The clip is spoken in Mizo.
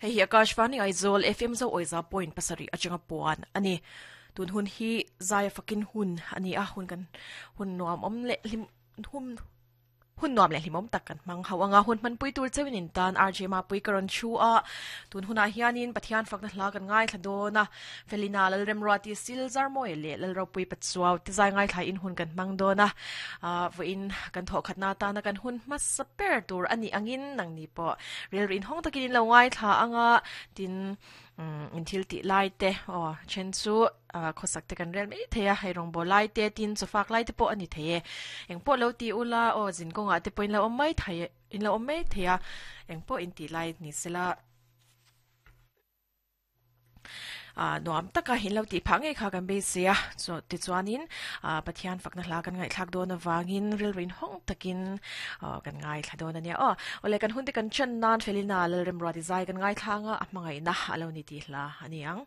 Hei hi Akashvani Aizawl FM Zo Awiza point pasarih atanga puan a ni. Tun hun hi zaia fakin hun a ni a, hun kan hun nuam awm leh hlim hum Hun nuam leh hlimawm tak kan hmang hauh anga hun hmanpui tur cheuhin in tan RJ Mapui ka rawn thu a. Tun hunah hianin Pathian fakna hla kan ngaithla dawn a. Felina Lalremruati Silzarmawi leh Lalropui Pachuau te zai ngaithla in hun kan hmang dawn a. Vawiin kan thawhkhatna atana kan hun hmasa ber tur a nih angin nangni pawh rilru inhawng takin in lo ngaithla anga tin in thil tih lai te aw then chu khawsak te kan rel mai thei a hei rawngbawl lai te tin chawfak lai te pawh a ni thei e engpawh lo ti ula aw zin kawngah te pawh in lo awm mai thei in lo awm mai thei a engpawh in tih lai ni sela ah nuam taka in lo tih phah ngei kha kan beisei a chu tichuanin ah Pathian fakna hla kan ngaihthlak dawn avangin rilru inhawng takin aw kan ngaithla dawn a nia aw awle kan hun te kan chan nan Felina Lalremruati zai kan ngaithla anga a hmangaihna a lo ni tih hla a ni ang.